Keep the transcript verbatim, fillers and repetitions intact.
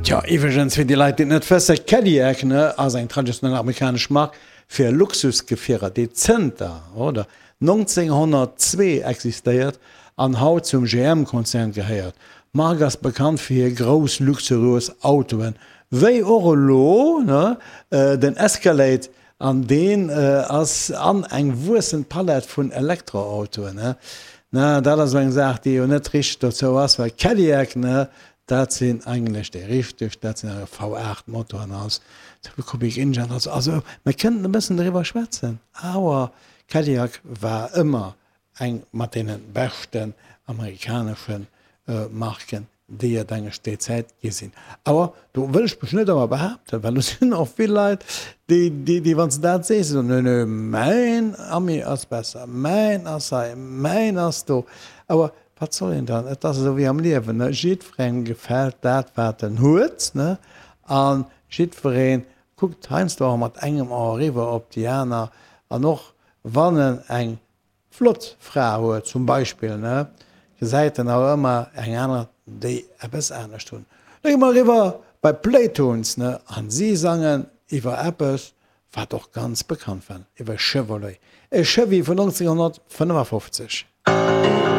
Tjo, iwwregens, fir déi Leit, déi et net wëssen, Cadillac, ne, ass eng traditionell amerikanesch Mark fir Luxusgefierer, déi zënter, oder, nonzénghonnertzwee existéiert an haut zum G M-Konzern gehéiert. D'Mark ass bekannt fir hir grouss luxuriös Autoen, wéi och elo, ne, den Escalade, an deen ass an eng wuessend Palett vun Elektroautoen, ne. Na, dat ass elo eng Saach, déi jo net richteg dozou ass, well Cadillac, ne, dat sinn eigentlech déi richteg, dat sinn awer V aacht Motoren als Cubic Inch an also, also mir kënnten e bëssen driwwer schwätzen, awer Cadillac war ëmmer eng mat deene beschten amerikanesche Marken, déi et englech déi Zäit gi sinn. Awer do wëll ech mech net ëmmer behaapten, well do sinn och vill Leit, déi, déi, déi wann s de dat sees, soen, nö, nö, mäin Ami ass besser, mäin ass hei, mäin ass do. Awer wat soll een dann? Et ass esou wéi am Liewen, ne? Jiddwerengem gefält dat, wat en huet, ne? A jiddweree kuckt heiansdo och mat engem A eriwwer op déi aner. An och wann en eng flott Fra huet zum Beispill, ne, gesäit en awer ëmmer eng aner, déi eppes anescht hunn. Da gi mer eriwwer bei d'Playtones, ne, an si sangen iwwer eppes, wat och ganz bekannt war, iwwer Chevrolet, e Chevy vun nonzénghonnertfënnefafofzeg.